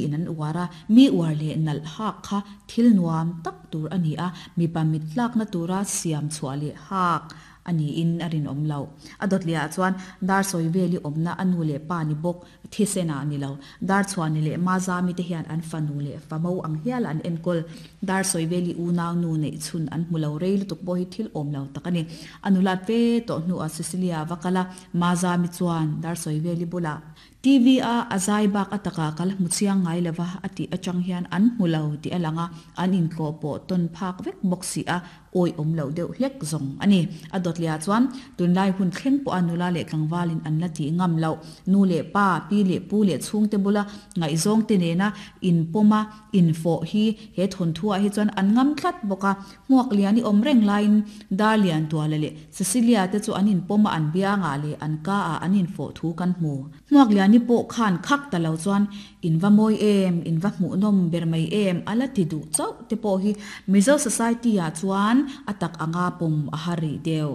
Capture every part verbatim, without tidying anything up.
in an uar a mi uar leh nalh hak kha thil nuam tak tur a ni a mipa mit tlakna tura siam chhuah leh hak a niin a rinawm loh. A dawt leh ah chuan dar sawi veli awmna a nu leh pa ni bawk thisen ah ni lo Darchhuani leh Mazami te hian an fanu leh famo ang hial an enkawl dar sawi veli unau nu neih chhun an hmu lo rei lutuk pawh hi thil awm lo tak a ni. A nulat ve tawh hnuah Cecilia va kal a, Mazami chuan dar sawi veli bulah T V a a zai bak a takah ka la hmu chiang ngai lova a tih atang hian an hmu lo tih a lang a, an intlawh pawh tawn phak vek bawk si a, awi awm loh deuh hlek zawng a ni. A dawt leh ah chuan tunlai hun thleng pawha nula leh tlangvalin an la tih ngam loh, nu leh pa, pi leh pu leh chhungte bula ngaihzawngte nena inpawma infawh hi he thawnthuah hi chuan an ngam tlat bawk a. Hmuak lian i awm reng laiin Darlian Tuala leh Cecilia te chu an inpawm a, an biangah leh an ka ah an infawh thu kan hmu. Hmuak liani pawh khan khak ta lo chuan in va mawi em, in va hmuhnawm ber mai em a la ti duh chauh te pawh hi Mizo society ah chuan a tak anga pawm a har rih deuh.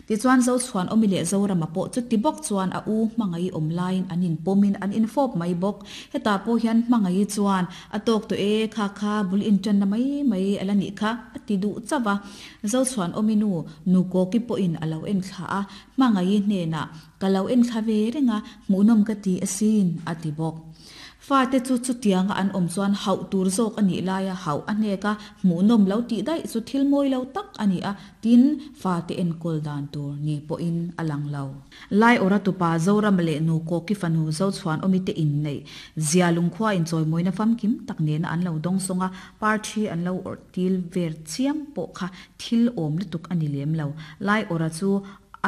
Tichuan Zochhuan awmi leh Zorama pawh chuti bawk chuan a u hmangaih awm laiin an inpawmin an infawp mai bawk. Hetah pawh hian hmangaih chuan a tawk tawh e, kha kha bul inṭanna mai mai a la nih kha a ti duh chauh a. Zochhuan awmi nu Nukawki pawhin a lo en thla a, hmangaih hnenah ka lo en thla ve reng a, hmuhnawm ka ti asin a ti bawk. Fate chu chutianga an awm chuan hauh tur zawk a nih laia hauh a hnek a, hmuhnawm lo tih daih chu thil mawi lo tak a ni a, tin, fate enkawl dan tur ni pawhin a lang lo. Lai awra tupa Zorama leh nu Kawki fanu Zochhuan awmite inneih zia lungkhua inchawimawina famkim tak nena an lo dawng sawng a, parthi an lo awrh til ver chiam pawh kha thil awm lutuk a ni lem lo. Lai awra chu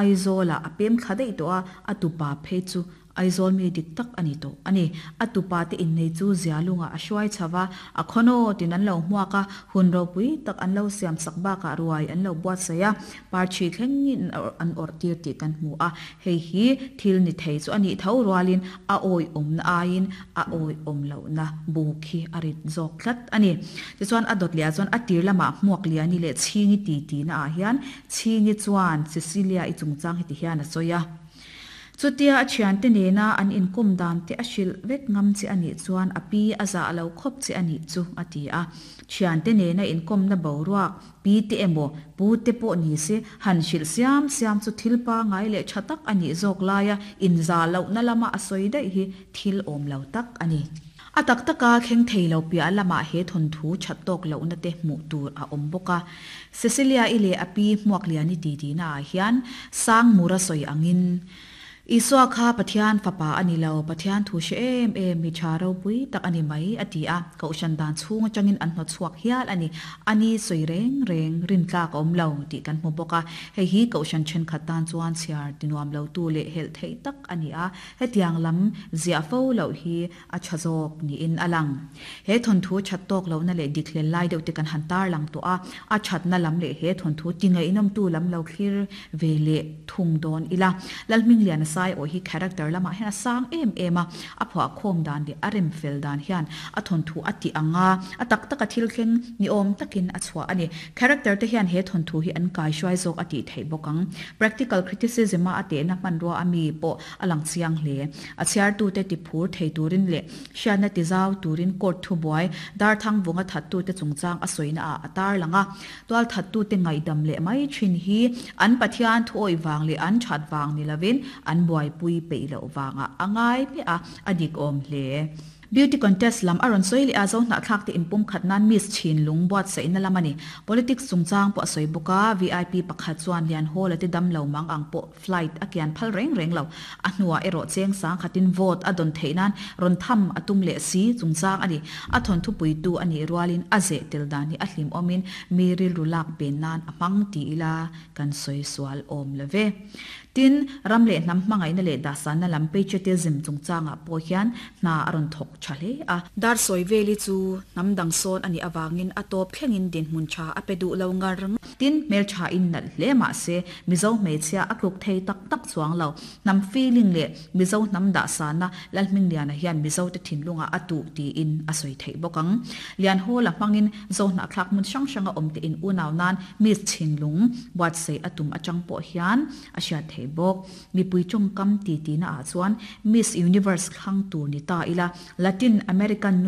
Aizawlah a pem thla daih tawh a, a tupa phei chu Aizawl mi dik tak a ni tawh a ni. A tupa te innei chu Zialungah a hruai chho va, a khawnawt in an lo hmuak a, hun ropui tak an lo siam sak bakah ruai an lo buatsaih a, parthi thlengin an awrh tir tih kan hmu a. Hei hi thil ni thei chu a nih tho rualin a awihawmna aiin a awihawm lohna bu khi a rit zawk tlat a ni. Tichuan a dawt leh ah chuan a tir lamah hmuak liani leh chhingi ti tihna ah hian Chhingi chuan Cecilia i chungchang heti hian a sawi a. Chutia a thiante nena an inkawm dan te a hrilh vek ngam che a nih chuan a pi a zah lo khawp che a nih chu a ti a. Thiante nena inkawmna boruak pi te emaw pu te pawh ni se han hrilh siam siam chu thil pangai leh tha tak a nih zawk laia inzah lohna lama a sawi daih hi thil awm lo tak a ni. A tak taka thleng thei lo piah lamah he thawnthu that tawk lohna te hmuh tur a awm bawk a. Cecilia-i leh a pi Hmuakliani titihna ah hian Sangmura sawi angin, Isua kha Pathian fapa a ni lo, Pathian thu hre em em mi tha ropui tak a ni mai, a ti a. Kohhran dan chhung atangin an hnawtchhuak hial a ni. A ni sawi reng reng rintlak a awm lo tih kan hmu bawk a. Hei hi Kohhran thenkhat tan chuan chhiar tinuam lotu leh helh theih tak a ni a. Hetiang lam ziah fo loh hi a tha zawk niin a lang. He thawnthu that tawk lohna leh dik hlel lai deuh te kan han tar lang tawh a, a thatna lam leh he thawnthu ti ngaihnawmtu lam lo thlir ve leh thung dawn ila. Lalhmingliana Saiawi hi character lamah hian a sang em em a, a phuahkhawm dan leh a rem fel dan hian a thawnthu a tih ang a, a tak taka thil thleng ni awm takin a chhuah a ni. Character te hian he thawnthu hi an kaihruai zawk a tih theih bawk ang. Practical criticism a a tehna hmanrua a mi pawh a lang chiang hle. A chhiartute ti phur thei turin leh hriatna ti zau turin court thubuai Darthang vunga thattute chungchang a sawina ah a tarlang a. Tual thattute ngaihdam leh mai thin hi an Pathian thuawih vang leh an that vang ni lovin an buaipui peih loh vangah a ngai hmiah a, a dik awm hle. Beauty contest lam a rawn sawi leh a, Zohnahthlak te inpum khat nan Miss Chinlung buatsaihna lam a ni. Politics chungchang pawh a sawi bawk a, V I P pakhat chuan Lian Hall a te dam lo mang ang pawh flight a kian phal reng reng lo. A hnuah erawh cheng sang khatin vote a dawn theih nan rawn tham a tum leh si chungchang a ni. A thawnthu puitu a nih rualin a zeh tel dan hi a hlimawmin mi rilru lak pen nan a hmang ti ila kan sawi sual awm lo ve. Tin, ram leh hnam hmangaihna leh dahsanna lam patriotism chungchangah pawh hian hna a rawn thawk tha hle a. Dar sawi veli chu hnam dang sawn a nih avangin a tawp thlengin dinhmun tha a pe duh lo ngar ngar. Tin, hmeltha in nalh hle mah se Mizo hmeichhia a tluk thei tak tak chuang lo. Hnam feeling leh Mizo hnam dahsanna Lalhmingliana hian Mizote thinlungah a tuh tiin a sawi theih bawk ang. Lianhawla hmangin Zohnahthlak hmun hrang hranga awm te in unau nan Miss Thinlung buatsaih a tum atang pawh hian a hriat theih bawk. Mipui tawngkam ti tihna ah chuan Miss Universe thlang tur ni ta ila Latin American